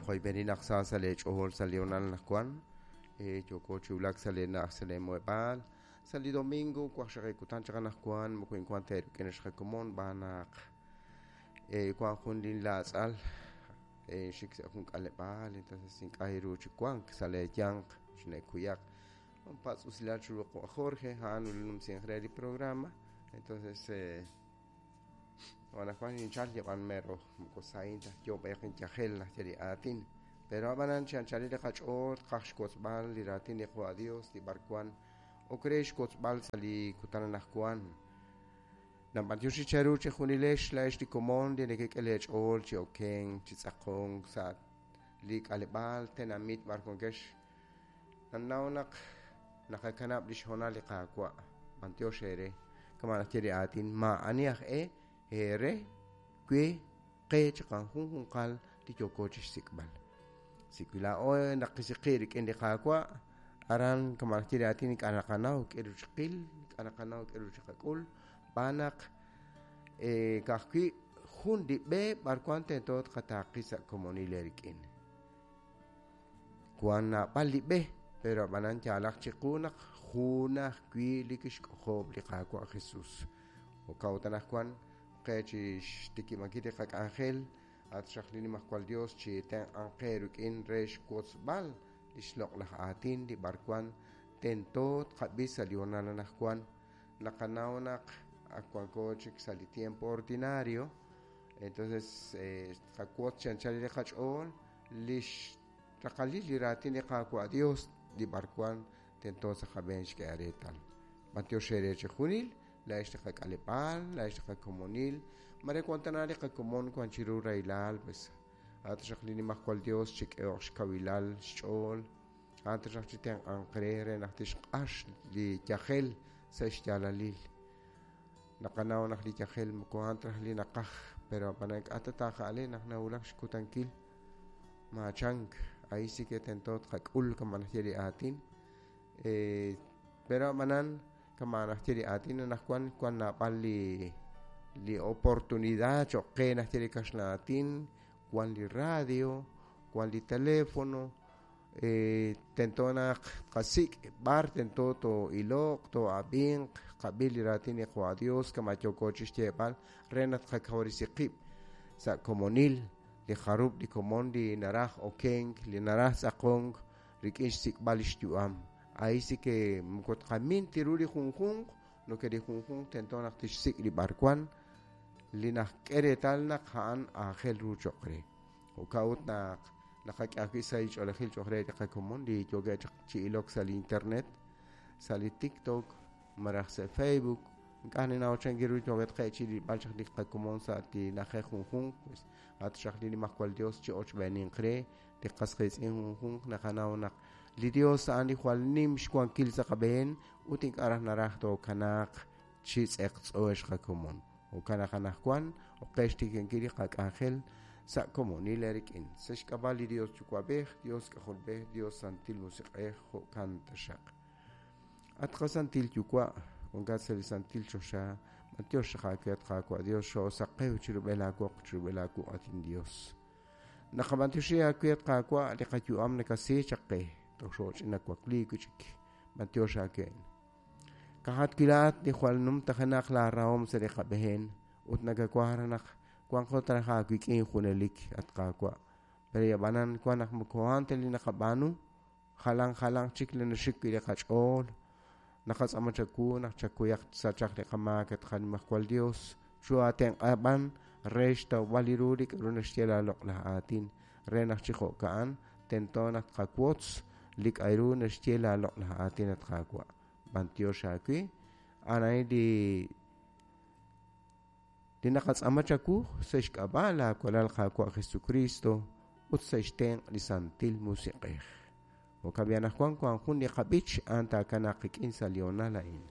Naqoyb'eni naq sa sa' leech'ool sa' li honal anaqwan. Yooko chi wulak sa' leena'aj sa' leemuheb'aal. Sa' li domingo waqxaqib' kutan chaq anaqwan moko inwank ta eerik'in ex qakomon xb'aan naq wank jun linlaatz'al xik sa' jun k'aleb'aal entonces ink'a' ru chi wank sa' leeyanq chine'kuyaq. Patz' usilal chiru Jorge a'an numsinq re li programa. Entonces anaqwan ninchal yab'an mero moko sahin ta yoo b'ayaq inyajel najye li aatin. Pero ab'anan chi anchalil li qach'ool qaj xwotzb'al li raatin li Qwa Dios li b'arwan ok re xwotzb'al sa' li kutan anaqwan. Nab'antioxi cheru chejunilex laa'ex li komon li nekek'e leech'ool chi okenk chi tz'aqonk sa' li k'aleb'aal tenamit b'ar wankex. Nannaw naq naqakanab' lix hoonal li Qaawa'. B'antiox eere. Kama' najye li aatin maa'ani aj e eere we qe chiqajunjunqal li yooko chixsik'b'al. Si wi laa'o naqisiqi' rik'in li Qaawa', aran kama' najye li aatin ink'a' naqanaw k'aru chiqil, ink'a' naqanaw k'aru chiqak'ul, xb'aan naq ka'ajwi' jun li b'e b'arwan tento tqataaqi sa' komonil eerik'in. Wank naab'al li b'e, pero ab'anan yaalaq chiqu naq jun ajwi' li kixk'ojob' li Qaawa' Jesús. Jo'kan ut anaqwan qe chi xtikib'ankil li qak'anjel at xaq li Nimajwal Dios chi tenq'anq qe rik'in re xwotzb'al li xloq'laj aatin li b'arwan tento tqab'i sa' li honal anaqwan. Naqanaw naq ak wanko chik sa' li tiempo ordinario, entonces tqawotz chi anchal li qach'ool li xraqalil li raatin li Qaawa' Dios li b'arwan tento sa' qab'een xk'e reetal. B'antiox eere chejunil, laa'ex li qak'aleb'aal, laa'ex li qakomonil, mare wan tana li qakomon wan chiru rahilal, pues at xaq li Nimajwal Dios chik'ehoq xkawilal xch'ool, at xaq chitenq'anq re re naq tixq'ax li yajel sa' xyaalalil. Naqanaw naq li yajel moko a'an ta raj li naqaj, pero ab'anan k'a' ta taaja'ale naq nawulak xkutankil maachank, ahí sí que tento tqak'ul kama' najye li aatin. Pero ab'anan kama' najye li aatin anaqwan wan naab'al li oportunidad cho'q qe najye li kaxlan aatin, wan li radio, wan li teléfono, tento naq tqasik' b'ar tento too'iloq, too'ab'inq, qab'i li raatin li Qwa Dios kama' yooko chi xyeeb'al re naq tqakawresi qib' sa' komonil li jarub' li komon li naraj okenk, li naraj tz'aqonk rik'in xsik'b'al li xyu'am. Ahí sí que moko tqamin ta ru li junjunq, no que li junjunq tento naq tixsik' li b'arwan li najk'e reetal naq a'an aajel ru cho'q re. Jo'kan ut naq naqak'e ajwi' sa' li ch'oolejil cho'q re li qakomon li yookeb' chaq chi ilok sa' li internet, sa' li TikTok, malaj sa' Facebook. Ink'a' ninnaw chan ru yookeb' qe chi rilb'al chaq li qakomon sa' li na'ajej junjunq, pues at xaq li Nimajwal Dios chi ochb'eeninq re li qas qiitz'in junjunq. Naqanaw naq li Dios a'an li jwal nim xwankil sa' qab'een ut ink'a' raj naraj tookanaaq chi tz'eqtz'o ex qakomon. Jo'kan naq anaqwan ok qe xtikinkil li qak'anjel sa' komonil eerik'in. Sa' xk'ab'a' li Dios Yuwa'b'ej, Dios K'ajolb'ej, Dios Santil Musiq'ej, jo'kan taxaq. At qasantil Yuwa', wankat sa' li santil choxa, b'antiox xaq aawe at Qaawa' Dios xoosaqew chirub'el aawoq chirub'el aawuq' at inDios. Naqab'antioxi aawe at Qaawa' li qayu'am nakasi chaq qe, toj xooch'ina wakliik wi' chik, b'antiox aawe. Kajat wi' laa'at li jwal numtajenaq laarahom sa' li qab'een ut nakawaj raj naq wanqo ta raj aawik'in junelik at Qaawa'. Pero ab'anan wan naq moko a'an ta li naqab'aanu, jalan jalanq chik li naxik wi' li qach'ool. Naqatz'aama chawu naq chakuyaq sachaq li qamaak at qaNimajwal Dios, chuhaatenq'a b'an re xtawb'al li ru li k'aru naxye laaloq'laj aatin re naq chi jo'ka'an tento naq tqawotz li k'aru naxye laaloq'laj aatin at Qaawa'. B'antiox aawe, a'an a'in li li naqatz'aama chawu sa' xk'ab'a' laawalal Qaawa' Jesucristo ut sa' xtenq' li Santil Musiq'ej. Jo'kan b'i anaqwan wank jun li qab'ich a'an taakanaaq qik'in sa' li honal a'in.